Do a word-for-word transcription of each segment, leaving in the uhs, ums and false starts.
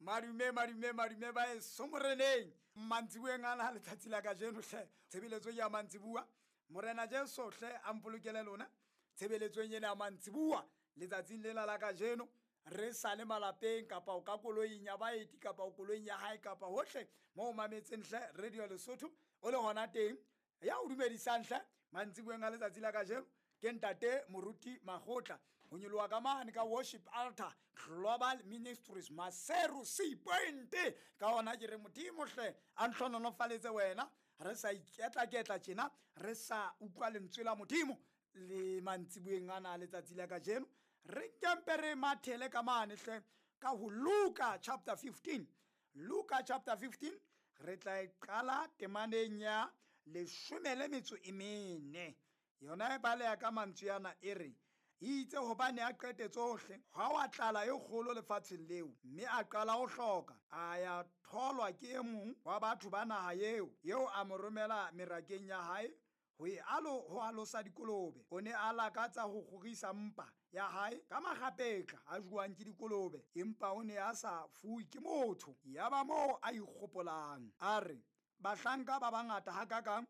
Madume, madume, madume ba eso moreneng. Mantsibueng ana letsatsi la kajeno hle, tshebeletso ya mantsibua. Morena Jesu hle a mpolokele lona tshebeletsong ena ya mantsibua letsatsing lena la kajeno. Re sa le malapeng kapa o ka koloing ya baeti kapa o koloing ya hae kapa hohle mo o mametseng hle Radio Lesotho o le hona teng. Ya o dumedisang hle mantsibueng a letsatsi la kajeno ke ntate Moruti Makgotla ho nyoloha ka mane ka Worship Altar Global Ministries Maseru C Point. Ka hona ke re Modimo hle a ntlhonolofaletse wena, re sa iketla-ketla tjena, re sa utlwa lentswe la Modimo le mantsibueng ana a letsatsi la kajeno. Re kempe re mathele ka mane hle ka ho Luka chapter fifteen. Luka chapter fifteen re tla e qala temaneng ya leshome le metso e mene. Yona e baleha ka mantswe ana e re, itse hobane a qete tsohle, ha wa tlala e kgolo lefatsheng leo, mme a qala ho hloka. A ya tholwa ke e mong wa batho ba naha eo, eo a mo romela merakeng ya hae ho e alo ho alosa dikolobe. O ne a lakatsa ho kgorisa mpa ya hae ka makgapetla a jowang ke dikolobe, empa o ne a sa fuwe ke motho. Yaba moo a ikgopolang, a re, bahlanka ba bangata hakakang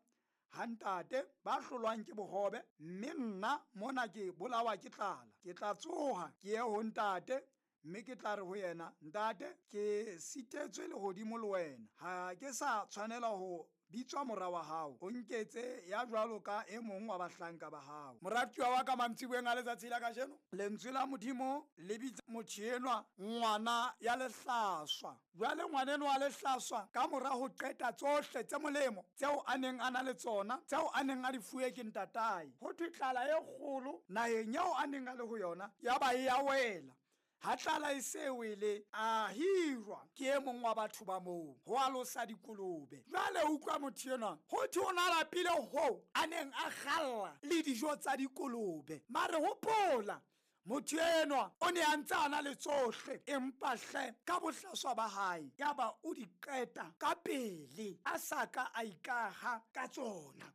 ha ntate ba hlolwang ke bohobe, mme nna mona ke bolawa ke tlala. Ke tla tsoha ke ye ho ntate, mme ke tla re ho yena, ntate, ke sitetswe lehodimo le wena, ha ke sa tshwanela ho bitswa mora wa hao, o nketse ya jwalo ka e mong wa bahlanka ba hao. Moratuwa wa ka mantsibueng a letsatsi la kajeno, lentswe la Modimo le bitsa motho enwa ngwana ya lehlaswa. Jwale ngwana enwa wa lehlaswa, ka mora ho qeta tsohle tse molemo tseo a neng a na le tsona, tseo a neng a di fuwe ke ntatae, ho thwe tlala e kgolo naheng eo a neng a le ho yona ya ba e ya wela. Ha tlala e se wele, a hirwa ke e mong wa batho ba moo ho alosa dikolobe. Jwale utlwa motho enwa, ho thwe o na lapile hoo a neng a kgalla le dijo tsa dikolobe. Mare hopola, motho enwa o ne a ntse a na le tsohle, empa hle ka bohlaswa ba hae yaba o di qeta ka pele, a sa ka a ikaha ka tsona.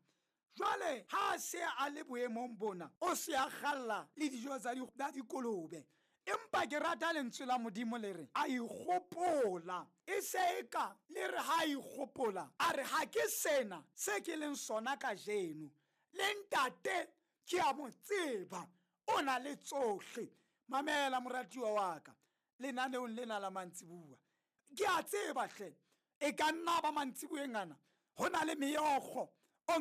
Jwale ha a se a le boemong bona, o se a kgalla le dijo tsa dikolobe. Empa ke rata lentswe la Modimo le re a ikgopola, e se eka le re ha ikgopola, a re ha ke sena se ke leng sona kajeno, le ntate ke a mo tseba, o na le tsohle. Mamela moratuwa wa ka lenaneong lena la mantsibua, ke a tseba hle e ka nna ba mantsibueng ana ho na le meokgo